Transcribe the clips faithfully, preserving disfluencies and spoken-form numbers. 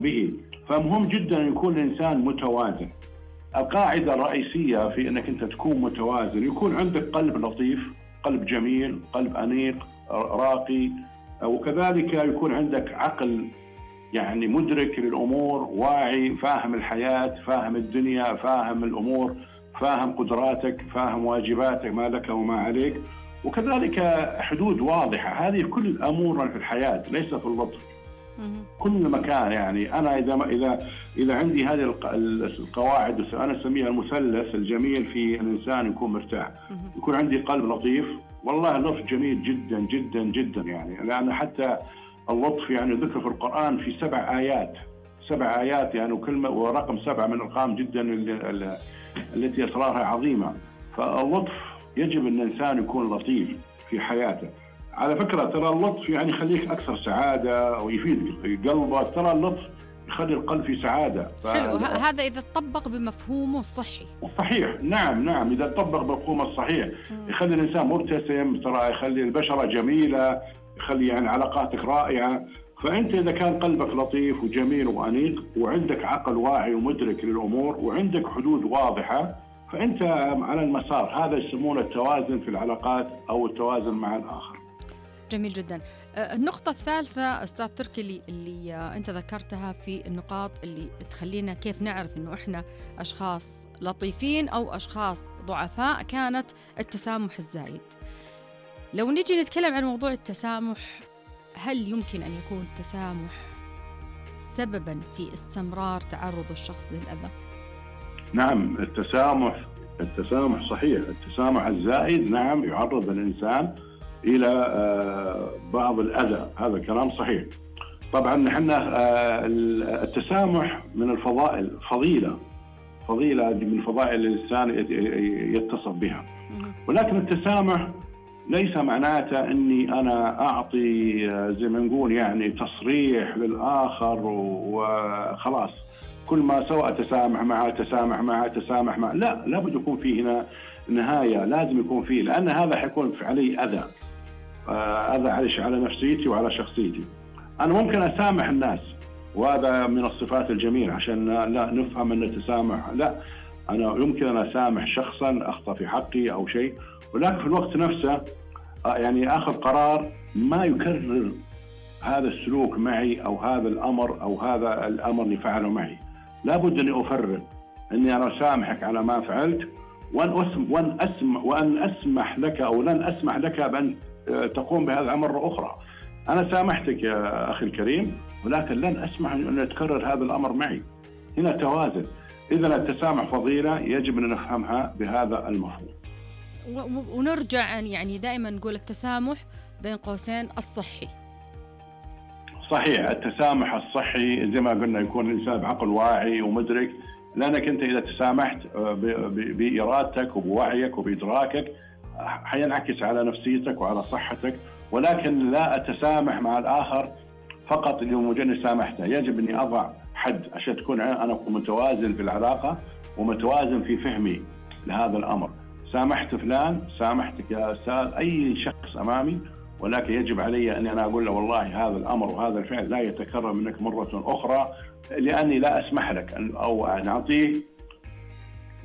به. فمهم جدا أن يكون الإنسان متوازن. القاعدة الرئيسية في أنك أنت تكون متوازن يكون عندك قلب لطيف، قلب جميل، قلب أنيق راقي، وكذلك يكون عندك عقل يعني مدرك للأمور، واعي، فاهم الحياة، فاهم الدنيا، فاهم الأمور، فاهم قدراتك، فاهم واجباتك ما لك وما عليك، وكذلك حدود واضحة. هذه كل الأمور في الحياة ليس في اللطف. كل مكان يعني أنا إذا إذا إذا عندي هذه القواعد أنا أسميها المثلث الجميل في الإنسان يكون مرتاح. يكون عندي قلب لطيف، والله اللطف جميل جدا جدا جدا يعني، لأن حتى اللطف يعني ذكر في القرآن في سبع آيات، سبع آيات يعني، وكلمة ورقم سبعة من الأرقام جدا التي أسرارها عظيمة. فاللطف يجب أن الإنسان يكون لطيف في حياته. على فكرة ترى اللطف يعني يخليك أكثر سعادة ويفيد قلبك. ترى اللطف يخلي القلب في سعادة. حلو. هذا إذا تطبق بمفهومه الصحي. صحيح، نعم نعم، إذا تطبق بمفهومه الصحيح يخلي الإنسان مبتسم، ترى يخلي البشرة جميلة، يخلي يعني علاقاتك رائعة. فأنت إذا كان قلبك لطيف وجميل وأنيق وعندك عقل واعي ومدرك للأمور وعندك حدود واضحة، فأنت على المسار. هذا يسمونه التوازن في العلاقات أو التوازن مع الآخر. جميل جدا. النقطة الثالثة أستاذ تركي اللي, اللي أنت ذكرتها في النقاط اللي تخلينا كيف نعرف إنه إحنا أشخاص لطيفين أو أشخاص ضعفاء، كانت التسامح الزايد. لو نيجي نتكلم عن موضوع التسامح، هل يمكن أن يكون التسامح سبباً في استمرار تعرض الشخص للأذى؟ نعم، التسامح التسامح صحيح. التسامح الزائد نعم يعرض الإنسان إلى بعض الأذى، هذا كلام صحيح. طبعاً نحن التسامح من الفضائل، فضيلة فضيلة من فضائل الإنسان يتصف بها. ولكن التسامح ليس معناته أني أنا أعطي زي ما نقول يعني تصريح للآخر وخلاص كل ما سوى أتسامح معه تسامح معه تسامح معه. لا، لابد يكون فيه هنا نهاية، لازم يكون فيه، لأن هذا حيكون علي أذى أذى على نفسيتي وعلى شخصيتي. أنا ممكن أسامح الناس، وهذا من الصفات الجميلة عشان لا نفهم أن التسامح لا، أنا يمكن أن أسامح شخصا أخطأ في حقي أو شيء، ولكن في الوقت نفسه يعني أخذ قرار ما يكرر هذا السلوك معي أو هذا الأمر أو هذا الأمر اللي فعله معي. لابد أني أفرق أني أنا أسامحك على ما فعلت، وأن أسمح وأن أسمح وأن أسمح لك أو لن أسمح لك بأن تقوم بهذا مرة أخرى. أنا سامحتك يا أخي الكريم، ولكن لن أسمح أن يتكرر هذا الأمر معي. هنا توازن. إذا التسامح فضيلة يجب أن نفهمها بهذا المفهوم. ونرجع يعني دائما نقول التسامح بين قوسين الصحي. صحيح، التسامح الصحي زي ما قلنا يكون الإنسان بعقل واعي ومدرك، لأنك أنت إذا تسامحت بإرادتك وبوعيك وبإدراكك حينعكس على نفسيتك وعلى صحتك. ولكن لا أتسامح مع الآخر فقط لمجرد سامحته، يجب أني أضع حد عشان تكون أنا متوازن في العلاقة ومتوازن في فهمي لهذا الأمر. سامحت فلان، سامحتك يا أستاذ أي شخص أمامي، ولكن يجب علي أن أنا أقول له والله هذا الأمر وهذا الفعل لا يتكرر منك مرة أخرى، لأني لا أسمح لك أو نعطيه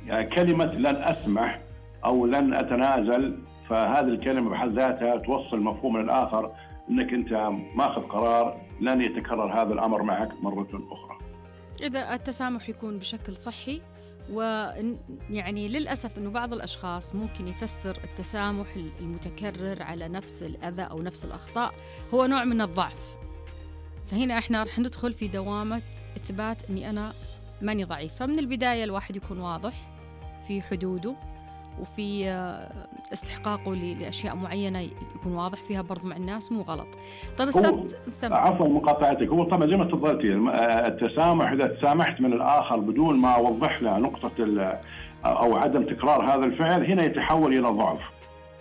يعني كلمة لن أسمح أو لن أتنازل. فهذه الكلمة بحد ذاتها توصل مفهوم للآخر أنك أنت ماخذ قرار لن يتكرر هذا الأمر معك مرة أخرى. إذا التسامح يكون بشكل صحي، ويعني للأسف أنه بعض الأشخاص ممكن يفسر التسامح المتكرر على نفس الأذى أو نفس الأخطاء هو نوع من الضعف. فهنا إحنا رح ندخل في دوامة إثبات أني أنا ماني ضعيف. فمن البداية الواحد يكون واضح في حدوده وفي استحقاقه لأشياء معينة، يكون واضح فيها برضو مع الناس، مو غلط. طيب أستاذ عفوا مقاطعتك، هو طبعا زي ما تفضلتي التسامح إذا تسامحت من الآخر بدون ما أوضح له نقطة أو عدم تكرار هذا الفعل، هنا يتحول إلى ضعف،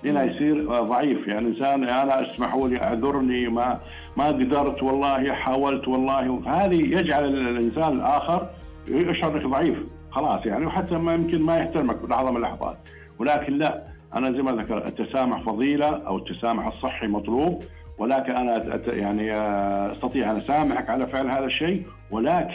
هنا يصير ضعيف. يعني إنسان أنا اسمحوا لي أعذرني ما ما قدرت والله حاولت والله، هذه يجعل الإنسان الآخر يشعر انك ضعيف خلاص يعني، وحتى ما يمكن ما يحترمك في لحظة من اللحظات. ولكن لا، أنا زي ما ذكر التسامح فضيلة أو التسامح الصحي مطلوب، ولكن أنا يعني أستطيع أن أسامحك على فعل هذا الشيء، ولكن